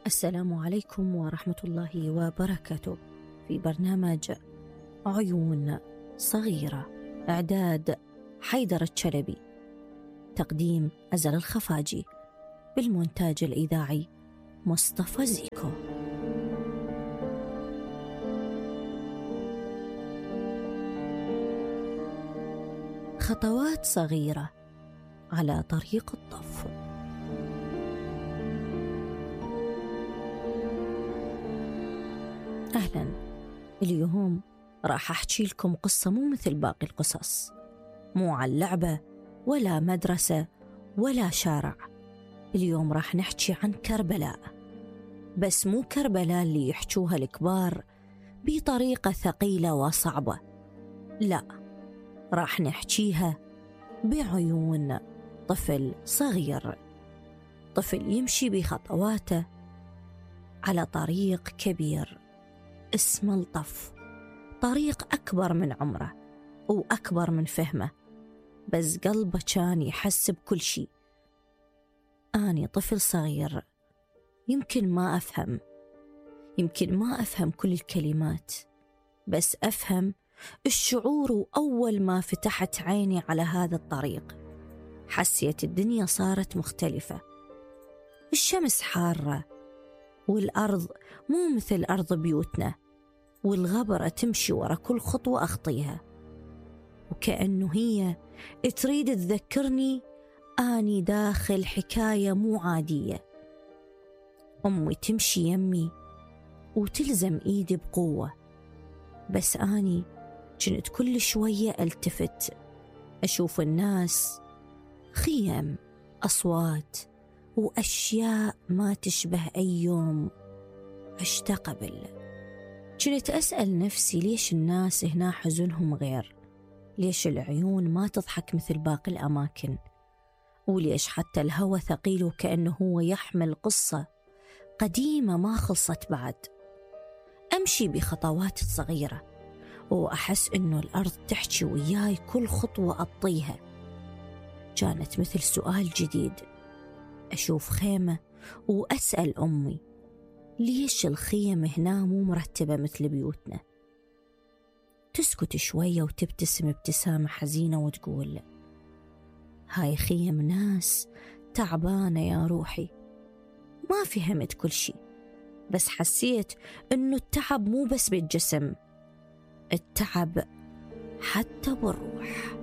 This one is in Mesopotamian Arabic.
السلام عليكم ورحمة الله وبركاته. في برنامج عيون صغيرة، إعداد حيدر الشلبي، تقديم أزل الخفاجي، بالمونتاج الإذاعي مصطفى زيكو. خطوات صغيرة على طريق الطف. أهلا، اليوم راح أحكي لكم قصة مو مثل باقي القصص، مو عن لعبة ولا مدرسة ولا شارع. اليوم راح نحكي عن كربلاء، بس مو كربلاء اللي يحكوها الكبار بطريقة ثقيلة وصعبة، لا، راح نحكيها بعيون طفل صغير، طفل يمشي بخطواته على طريق كبير اسمه الطف، طريق أكبر من عمره وأكبر من فهمه، بس قلبه كان يحس بكل شيء. أنا طفل صغير، يمكن ما أفهم كل الكلمات، بس أفهم الشعور. وأول ما فتحت عيني على هذا الطريق حسيت الدنيا صارت مختلفة. الشمس حارة، والأرض مو مثل أرض بيوتنا، والغبرة تمشي ورا كل خطوة أخطيها، وكأنه هي تريد تذكرني أني داخل حكاية مو عادية. أمي تمشي يمي وتلزم إيدي بقوة، بس أني كنت كل شوية التفت أشوف الناس، خيم، أصوات، وأشياء ما تشبه أي يوم عشت قبل. كنت أسأل نفسي ليش الناس هنا حزنهم غير، ليش العيون ما تضحك مثل باقي الأماكن، وليش حتى الهوى ثقيل وكأنه هو يحمل قصة قديمة ما خلصت بعد. أمشي بخطوات صغيرة وأحس إنه الأرض تحكي وياي كل خطوة أطيها. كانت مثل سؤال جديد. أشوف خيمة وأسأل أمي ليش الخيم هنا مو مرتبة مثل بيوتنا. تسكت شوية وتبتسم ابتسامة حزينة وتقول هاي خيم ناس تعبانة يا روحي. ما فهمت كل شيء، بس حسيت إنه التعب مو بس بالجسم، التعب حتى بالروح.